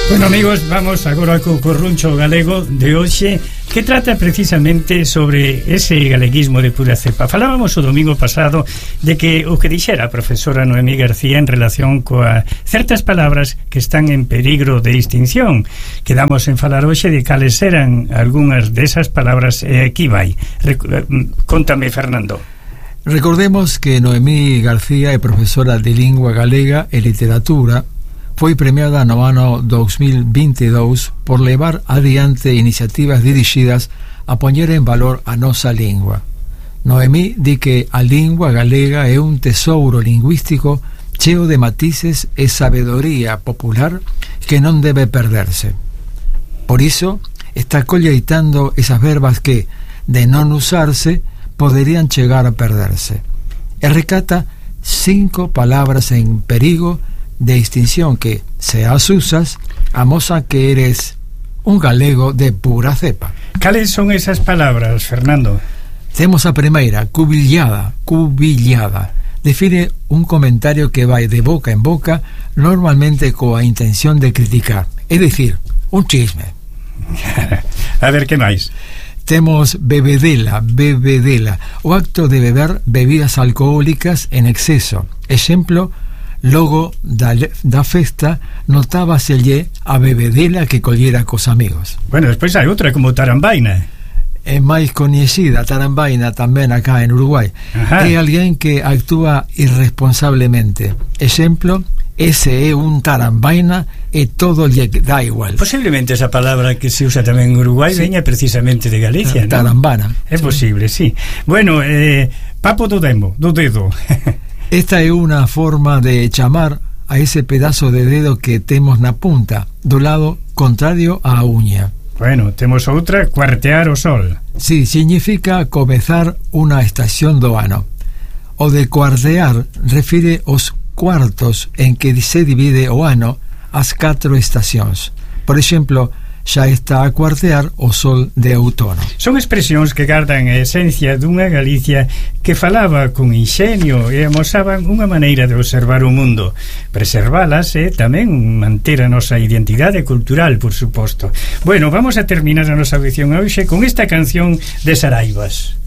Bueno, amigos, vamos agora co corruncho galego de hoxe, que trata precisamente sobre ese galeguismo de pura cepa. Falábamos o domingo pasado de que o que dixera a profesora Noemí García en relación coa certas palabras que están en peligro de extinción. Quedamos en falar hoxe de cales eran algunhas desas palabras, e aquí vai. Contame, Fernando. Recordemos que Noemí García é profesora de lingua galega e literatura. Foi premiada no ano 2022 por levar adiante iniciativas dirixidas a poñer en valor a nosa lingua. Noemí di que a lingua galega é un tesouro lingüístico cheo de matices e sabedoría popular que non debe perderse. Por iso, está colleitando esas verbas que, de non usarse, poderían chegar a perderse. E recata 5 palabras en perigo de extinción que, se as usas, amosan que eres un galego de pura cepa. Cales son esas palabras, Fernando? Temos a primeira, cubillada. Define un comentario que vai de boca en boca, normalmente coa intención de criticar, é dicir, un chisme. A ver, que máis? Temos bebedela, o acto de beber bebidas alcohólicas en exceso. Exemplo, logo da festa notábaselle a bebedela que collera cos amigos. Bueno, despois hai outra como tarambaina. É máis coñecida, tarambaina, tamén acá en Uruguai. Ajá. É alguén que actúa irresponsablemente. Exemplo, ese é un tarambaina e todo lle dá igual. Posiblemente esa palabra que se usa tamén en Uruguai veña precisamente de Galicia, ¿no? Tarambana. É posible, sí. Bueno, papo do dedo. Esta é unha forma de chamar a ese pedazo de dedo que temos na punta, do lado contrario á uña. Bueno, temos outra, cuartear o sol. Sí, significa comezar unha estación do ano. O de cuartear refire os cuartos en que se divide o ano as 4 estacións. Por exemplo, xa está a cuartear o sol de outono. Son expresións que gardan a esencia dunha Galicia que falaba con inxenio e amosaban unha maneira de observar o mundo. Preservalas e tamén manter a nosa identidade cultural, por suposto. Bueno, vamos a terminar a nosa audición hoxe con esta canción de Saraivas.